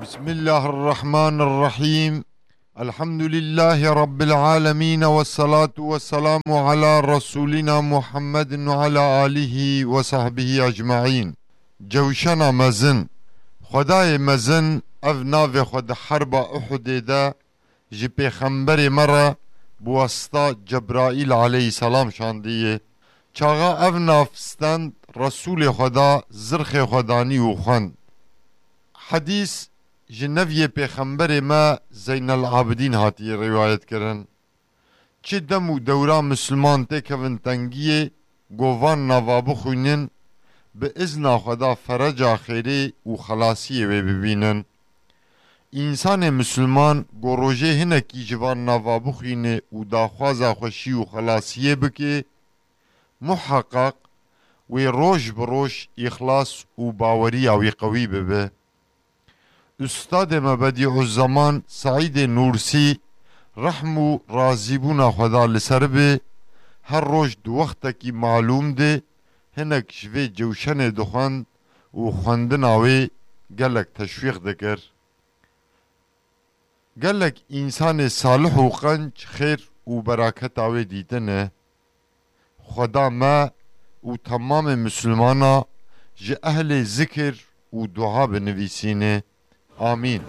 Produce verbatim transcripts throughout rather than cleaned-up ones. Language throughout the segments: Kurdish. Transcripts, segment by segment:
بسم الله الرحمن الرحيم. الحمد لله رب العالمين والصلاة والسلام على رسولنا محمد وعلى آله وصحبه أجمعين. Cewşena mezin. Xwedayê mezin ev navê xwe di herba Uhudê de ji pêxemberê me re bi wesita Cebraîl aleyhisselam şandiye. Çaxa ev nav stend Resûlê Xweda zirxê xwe danî û xwend. Hedîs ji neviyê pêxemberê me Zeynel Abidîn hatiye rîwayet kirin. Çi dem û dewra Misliman têkevin tengiyê, go van nava bixwînin, bi izna Xweda fereca xêrê û xelasiyê wê bibînin. Însanê Misliman go rojê hinekî ji van nava bixwîne û daxwaza xweşî û xelasiyê bike, muheqeq wê roj bi roj îxlas û baweriya wî qewî bibe. Ustadê me Bedîuzzeman Seîdê Nûrsî, rehm û razîbûna Xweda li ser be, her roj di wextekî malûm de hinek ji vê cewşenê dixwend û xwendina wê gelek teşwîq dikir. Gelek însanê salih û qenc xêr û beraketa wê dîtine. Xweda me û temamê Mislimana ji ehlê zikir û dua binivîsîne. Amîn.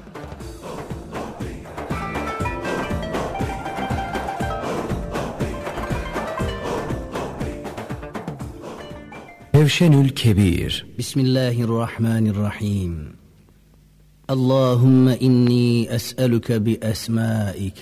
Cewşenül Kebîr. بسم الله الرحمن الرحيم. اللهم إني أسألك بأسمائك